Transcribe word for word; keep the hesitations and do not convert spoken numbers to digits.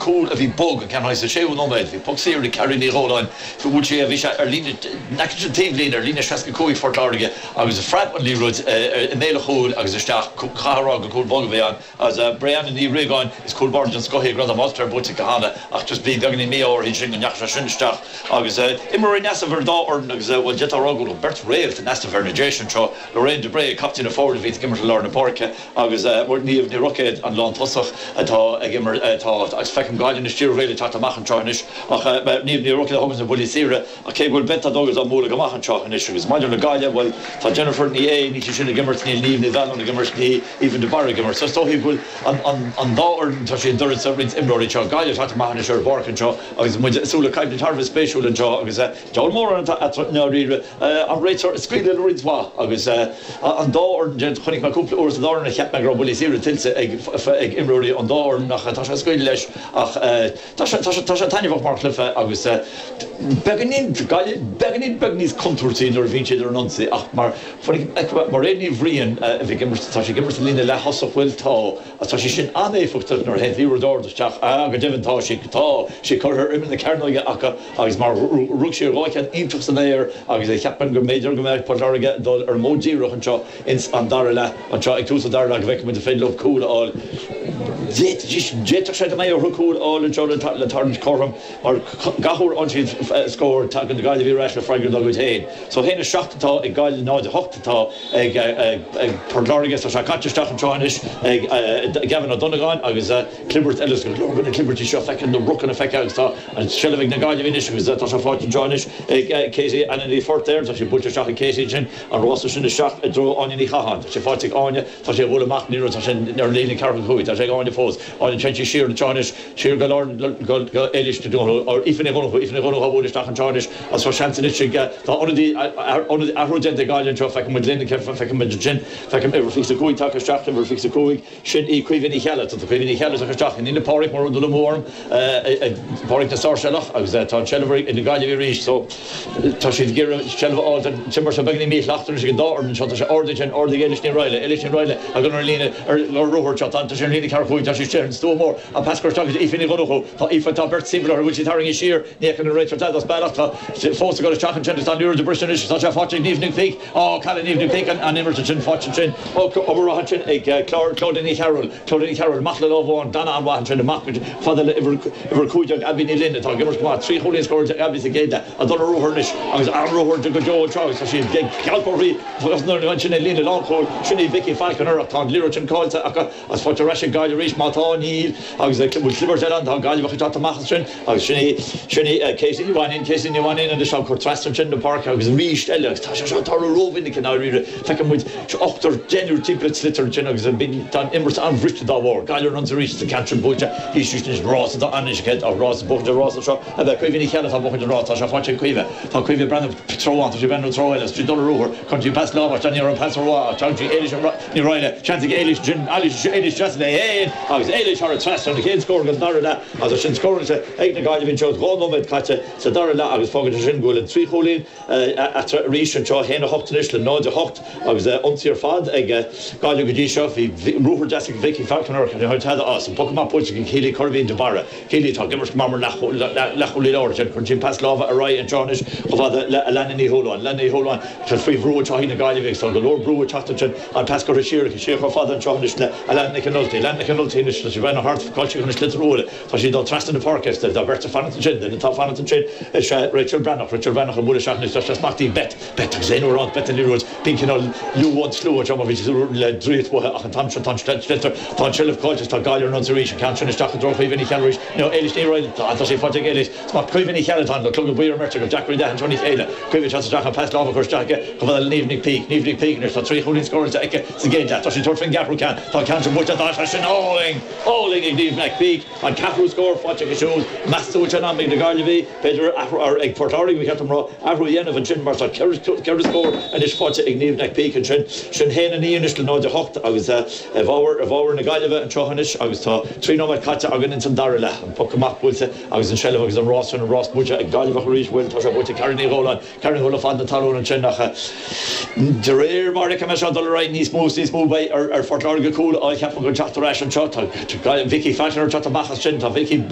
Cúl a bhí bog an ceann sa séú nóiméad, bhí poc saor ag Carrie Ní Dhóláin, bhuail sé, bhí sé ar líne an taobhlíne, ar líne seasca cúig Phort Láirge, agus phreab an liathróid i mbéal an chúil agus isteach. Caithfidh a rá gur cúl bog a bhí ann agus Brianna Ní Riagáin, is cúl báire den scoth í, gradam All-Star buaite aici cheana, ach just bhí beagáinín mí-ádh uirthi sin go ndeachaigh sé sin isteach. Agus imreoirí in easnamh ar an dá fhoireann agus, bhuel, d'fhéadfá a rá go bhfuil beirt réalt in easnamh ar na Déise anseo, Lorraine de Bré, captaen na foirne a bhí ag imirt i lár na páirce, agus Niamh Ní Roicéad, an lántosach atá ag imirt, atá, agus feicim Gaillimh anois, Tír Ghaeil ag teacht amach anseo anois, ach Niamh Ní Roicéad a thugann na buillí saora, ach cé go bhfuil Beth Douglas á mbualadh go maith anseo anois. Agus maidir le Gaillimh, bhuel, tá Jennifer Ní Aodha, níl sí sin ag imirt, níl Niamh Ní Mhealláin ag imirt, níl Aoibhinn de Barra ag imirt. So is dóichí go bhfuil an, an, an dá fhoireann, tá siad d'uireasa roinnt imreoirí anseo. Gaillimh ag teacht amach anois ar an bpáirc anseo agus muid ag súil le coimhlint thar a bheith spéisiúil anseo agus deabhal mórán atá eatarthu i ndáiríre. An réiteoir ag scaoileadh le roinnt mhaith agus an dá fhoireann déanta. Chonaic mé cúpla uair sa dá fhoireann a cheap mé go raibh buillí saora tuillte ag ag imreoirí an dá fhoireann ach tá sé ag scaoileadh leis ach tá sé tá sé tá sé taitneamhach mar chluiche agus beagáinín Gaillimh beagáinín beag níos contúirtí nuair a bhíonn siad ar an ionsaí ach mar Mairéad Ní Bhriain a bhí ag imirt, tá sí ag imirt sa líne leath-thosach, bhuel tá, agus tá sí sin an-éifeachtach nuair a théann liathróid ard isteach, ah go deimhin tá sí, tá sí curtha ar imeall na cearnóige acu agus mar rug sí dhá cheann iontach san aer agus cheapfainn go mb'fhéidir go mbeadh Port Láirge ag dul ar an modh díreach anseo ins an dara leath, anseo ag tús an dara leath go bhfeicfidh muid an féidir leo cúl a fháil. D'fhéadfadh sé go mbeadh orthu cúl a fháil anseo le tarraingt cothrom mar gach uair a fhaigheann siad scór tagann Gaillimh ar ais le freagra dá gcuid féin. So a haon a seacht atá ag Gaillimh, náid a hocht atá ag Port Láirge. Tá sé caite isteach anseo anois ag Gavin Ó Donnagáin agus clibirt eile go leor de na clibirtí seo feicthe, na rucanna feicthe agus tá an tseilbh ag na Gaillimhigh anois agus tá sé faighte anseo anois ag Katie Anna Ní Phortéir. Tá sé buailte isteach ag Katie ansin, an rása sin isteach i dtreo Áine Ní Chatháin. Tá sé faighte ag Áine, tá sé ag bualadh amach, ní raibh, tá sé ar an líne ceathracha cúig, tá sé ag Áine fós. Áine, téann sí siar anseo anois, siar go lár, go Éilís Ní Dhonnchú, Aoife Ní Dhonnchú, Aoife Ní Dhonnchú á bualadh isteach anseo anois agus tá seans anois ag, tá ionadaí, ionadaí, athrú déanta ag Gaillimh anseo, feicim muid linn, feicim muid ansin, feicim uimhir fiche a cúig tagtha isteach, uimhir fiche a cúig, sin í Caoimhe Ní Cheallaigh, tá Caoimhe Ní Cheallaigh tagtha isteach in ionad Pádraig mura bhfuil dul amú orm, Pádraig na Sáirséalach, agus tá an tseilbh ag na Gaillimhigh arís so tá siad ag iarraidh seilbh a fháil, tá an t-imirt seo beagáinín míshlachtmhar anois ag an dá fhoireann anseo, tá sé ardaithe ansin, ardaithe ag Éilis Ní Raghallaigh, Éilis Ní Raghallaigh ag dul ar an líne ar ruathar anseo, tá sé ar an líne ceathracha cúig, tá sé istigh ar an stua mór, an pas curtha isteach go dtí Aoife Ní Dhonnchú, tá Aoife, tá beirt timpeall uirthi, bhfuil sí tarraingthe siar, ní fheiceann an réiteoir tada as bealach, tá fós ag dul isteach ansin agus tá an liathróid ag briseadh anois, tá sé faighte ag Niamh Nic Píc, á, cailleann Niamh Nic Píc an imirt ansin, faighte ansin, obair mhaith ansin ag Clodagh Ní Chearúil, Clodagh Ní Chearúil amach le lámh amháin, glanadh an-mhaith ansin amach go fada le uimhir uimhir cúig déag Abbie Ní Fhloinn atá ag imirt go maith, trí chúilín scóráilte ag Abbie sa gcéad leath, ag dul ar ruathar anois agus an-ruathar go deo anseo agus tá sí ag gealladh uirthi ansin ag líne lánchúil, sin í Vicky Falconer ach tá an liathróid sin caillte acu agus faighte ar ais ag Gaillimh arís má tá, níl agus bhfuil clibirt eile ann, tá Gaillimheach ag teacht amach ansin agus sin í, sin í Katie Ní Mhainín, Katie Ní Mhainín anois á cur trasna ansin na páirce agus arís eile agus tá sé seo ag tarlú rómhinic i ndáiríre, feiceann muid ochtar, deichniúr timpeall an tsliotair ansin agus tá an imirt an-bhriste dá bharr. Gaillimh ar an ionsaí arís, an ceann sin buailte thíos anois, rás atá ann anois, ach rás, buachaint an rása seo a bheith Caoimhe Ní Cheallaigh atá buachaint an rása, tá sé faighte ag Caoimhe, tá Caoimhe ag breathnú treo amháin, tá sí ag breathnú treo eile, is í ag dul ar ruathar, cuireann sí pas láimhe isteach, ní raibh an pas rómhaith ach tagann sí Éilís Ní Raghallaigh, seans ag Éilís ansin, Éilís trasna léi féin agus Éilís thar an trasnán, an chéad scór den dara leath agus sin scóráilte ag na Gaillimhigh anseo, dhá nóiméad caite sa dara leath agus fágann sé sin go bhfuil an trí chúilín eatarthu arís anseo, a haon a hocht anois le náid a hocht agus ionsaí ar fad ag Gaillimh go dtí seo. Bhí ruathar deas ag Vicky Falconer ach ní raibh tada as. An poc amach buailte ag Keely Curveen de Barra. Keely atá ag imirt go maith mar leathchúlaí láir ansin. Cuireann sí an pas láimhe ar aghaidh anseo anois chomh fada le Alana Ní Shúilleabháin. Alana Ní Shúilleabháin tá faoi bhrú anseo ag na Gaillimhigh agus tá go leor brú ag teacht ansin. An pas curtha siar aici siar chomh fada anseo anois le Alana Nic an Nulty. Alana Nic an Nulty anois tá sí ag breathnú thart cá bhfuil sí chun an sliotar a bhualadh. Tá sí ag dul trasna na páirce is tá beirt ag fanacht ansin. Duine atá ag fanacht ansin is ea Rachel Breathnach. Rachel Breathnach ag bualadh isteach anois. Tá sé smachtaithe ag Beth. Beth agus aon uair ann Beth an liathróid. Bíonn cineál liú an tslua anseo mar bhí le draíocht uathu ach an t-am seo tá an sliotar, tá an tseilbh caillte is tá Gaillimh ar an ionsaí arís. An ceann sin isteach i dtreo Chaoimhe Ní Cheallaigh arís. Nó Éilís Ní Raghallaigh. Tá, tá sé faighte ag Éilís. Smacht Caoimhe Ní Cheallaigh atá ann le clogad buí ar an mbeirt acu. Deacair iad a aithint óna chéile. Caoimhe ag teacht isteach an pas láimhe a chur isteach aici chomh fada le Niamh Nic Píc. Niamh Nic Píc anois. Tá trí chúilín scóráilte aici sa gcéad leath. Tá sí ag tabhairt faoin gceathrú ceann. Tá an ceann sin buailte. Tá sé sin álainn! Álainn ag Niamh Nic Píc. An ceathrú scór faighte aici siúd. Meas tú an bhfuil sé in am ag na Gaillimhigh, b'fhéidir, athrú, ag Port Láirge ba cheart dom a rá, athrú a dhéanamh ansin mar tá ceithre scór anois faighte ag Niamh Nic Píc ansin. Sin haon a naoi anois le náid a hocht agus i bhfabhar i bhfabhar na Gaillimhe anseo anois agus tá trí nóiméad caite againn ins an dara leath. An poc amach buailte agus an seilbh agus an rás sin, an rás buaite ag Gaillimheach arís. Bhuel, tá sé buaite ag Karen Ní Dhóláin. Karen ag dul fad na talún ansin ach de réir mar a fheicim é seo ag dul ar aghaidh níos mó is níos mó beidh ar Phort Láirge cúl a fháil, cheapfainn, chun teacht ar ais anseo. Tá Vicky Falconer ag teacht amach as sin. Tá Vicky.